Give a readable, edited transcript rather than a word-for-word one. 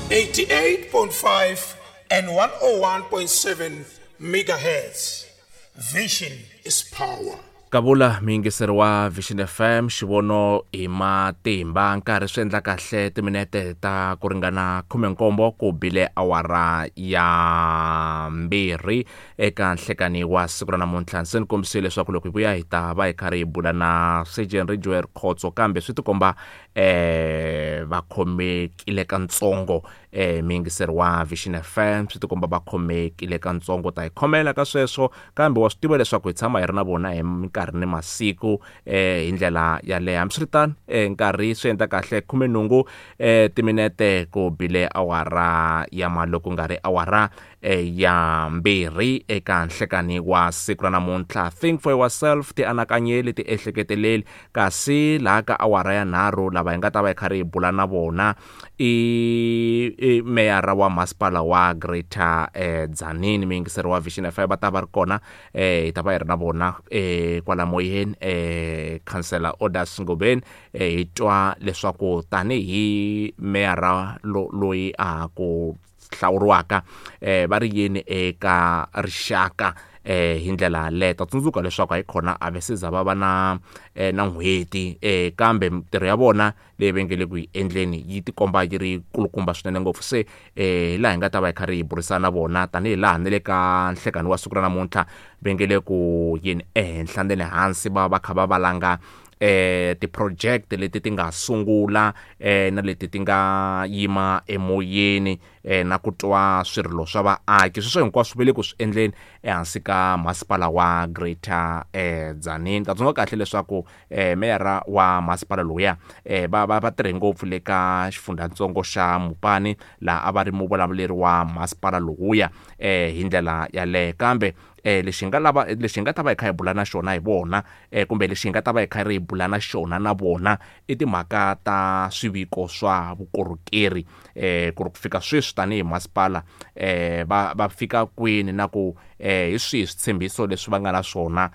88.5 and 101.7 megahertz. Vision is power. Kavula muyingiseri wa Vision FM, xivono hi matimba. Nkarhi swi endla kahle timinete ta ku ringana 17 ku bile awara ya 2 eka nhlekani wa siku ra namuntlha. Se ni kombisile leswaku loko hi vuya hi ta va hi karhi hi bula na Surgeon Ridgeway Khotso, kambe swi tikomba va khomekile kantsongo. Muyingiseri wa Vision FM, swi tikomba va khomekile kantsongo, ta hi khomela ka sweswo, kambe wa swi tiva leswaku hi tshama hi ri na vona hi minkarhi ni masiku hi ndlela yaleyo. Hambiswiritano, nkarhi swi endla kahle 18 timinete ku bile awara ya maloko nga ri awara ya 2 eka nhlekani wa siku ra namuntlha. Think for yourself, tianakanyeli, tiehleketeleli. Kasi laha ka awara ya 3 lava hi nga ta va hi karhi hi bula na vona i meyara wa masipala wa Greater Tzaneen, muyingiseri wa Vision FM, va ta va ri kona, hi ta va hi ri na vona kwala moyeni, Councillor Odas Ngobeni, hi twa leswaku tanihi meyara loyi a ha ku hlawuriwaka, va ri yini eka rixaka hi ndlela leyo. Ta tsundzuka leswaku hayi khona a va se za va va na n'hweti, kambe mintirho ya vona leyi va nge le ku yi endleni yi tikomba yi ri kulukumba swinene ngopfu. Se hi laha hi nga ta va hi karhi hi burisana na vona tanihi laha ni le ka nhlekani wa siku ra namuntlha va nge le ku yini ehenhla ni le hansi, va va kha va valanga ti-project leti ti nga sungula na leti ti nga yima emoyeni, na ku twa swirilo swa vaaki. Sweswo hinkwaswo va le ku swi endleni ehansi ka masipala wa Greater Tzaneen. Ta tsundzuka kahle leswaku meyara wa masipala lowuya va tirhe ngopfu le ka xifundzatsongo xa Mopani, laha a va ri muvulavuleri wa masipala lowuya hi ndlela yaleyo. Kambe lexi nga lava, lexi nga ta va hi kha hi bula na xona hi vona, kumbe lexi nga ta va hi kha ri bula na xona na vona i timhaka ta swiviko swa vukorhokeri, ku ri ku fika sweswi tanihi masipala, va fika kwini na ku hi swihi switshembiso leswi va nga na swona